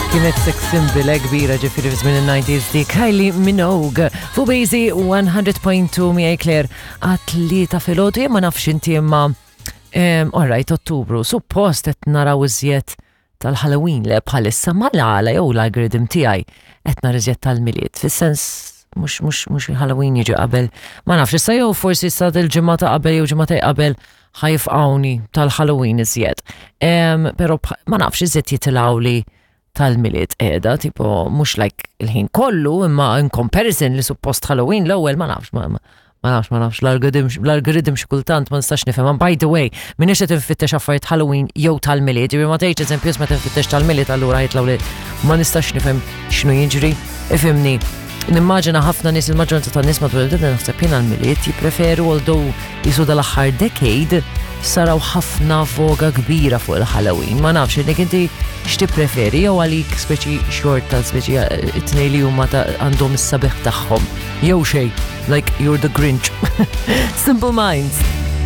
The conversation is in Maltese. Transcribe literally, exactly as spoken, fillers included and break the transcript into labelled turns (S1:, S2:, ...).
S1: Kienet sex symbol eh, kbira ġifieri fi żmien il-nineties di Kylie Minogue. Fuq Easy one hundred point two miegħi Claire għat-tlieta filgħodu. Jien ma nafx inti imma um, alright, Ottubru, suppost qed naraw iżjed tal-Halloween le bħalissa mal-għala jew l-algoritm tiegħi qed nara iżjed tal-Milied. Fis-sens mhux mhux mhux il-Halloween jiġi qabel. Ma nafx issa jew forsi sa il-ġimgħa ta' qabel jew ġimgħa ta' qabel ħa jifqgħuni tal-Halloween iżjed. Um, pero ma nafx, iżjed jitilgħuli tal-Milied qiegħda, tipo mhux like il-ħin kollu, imma in comparison li suppost Halloween l-ewwel, ma nafx, ma, ma ma nafx, ma nafx, l-algoritm l-algoritm xi kultant ma nistax nifhem. By the way, minix qed infittex affarijiet Halloween jew tal-Milied, ġifieri ma tgħidx eżempju meta nfittex tal-Milied allura jitilgħu li ma nistax nifhem x'inhu jiġri, ifhimni. Nimmaġina ħafna nies, il-maġġoranza tan-nies madwar id-dinja naħseb jiena l-Milied jippreferu, although jisu dal-aħħar decade saraw ħafna voga kbira fuq il-Halloween. Ma nafx, dik inti x'tippreferi jew għalik speċi xorta, speċi it-tnejn li huma ta' għandhom is-sabiħ tagħhom. Jew xejn, like you're the Grinch. Simple Minds.